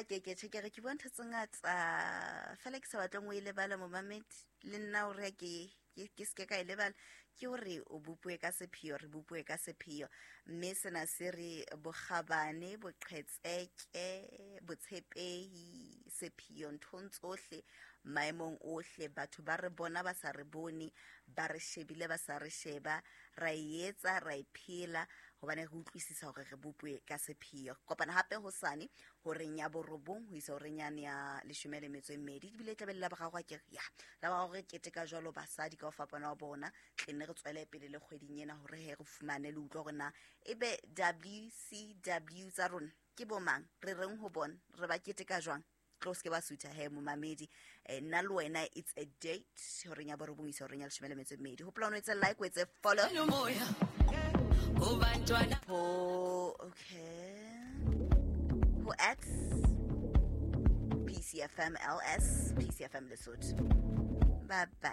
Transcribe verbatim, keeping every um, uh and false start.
ke ke tjhe ke re ke bua ntho tse ngata fela ke sa batleng o e lebala momamedi le nna hore ke ke ke seke ka e lebala ke hore o bopuwe ka sepheo re bopuwe ka sepheo mme sena se re bokgabane boqhetseke botshepehi sepheo nthong tsohle maemong ohle batho ba re bona ba sa re bone ba re shebile ba sa re sheba ra e etsa ra e phela hobane re utlwisisa hore re bopuwe ka sepheo kopana hape hosane horeng ya borobong ho isa horeng yane ya leshome le metso e mmedi ebile e tlabe le la boraro akere ya la boraro re keteka jwalo basadi ka ho fapana wa bona tle nne re tswele pele le kgweding ena hore he re fumane le utlwa hore na ebe W C W tsa rona ke bo mang re reng ho bona re ba keteka jwang tlo se ke ba sutha he momamedi. Eh, nna le wena it's a date horeng ya borobong isa horeng ya leshome le metso e mmedi hopola o no etse like o etse follow Umoya kubantwana ho okay ho X P C F M L S P C F M Lesotho. Bye bye.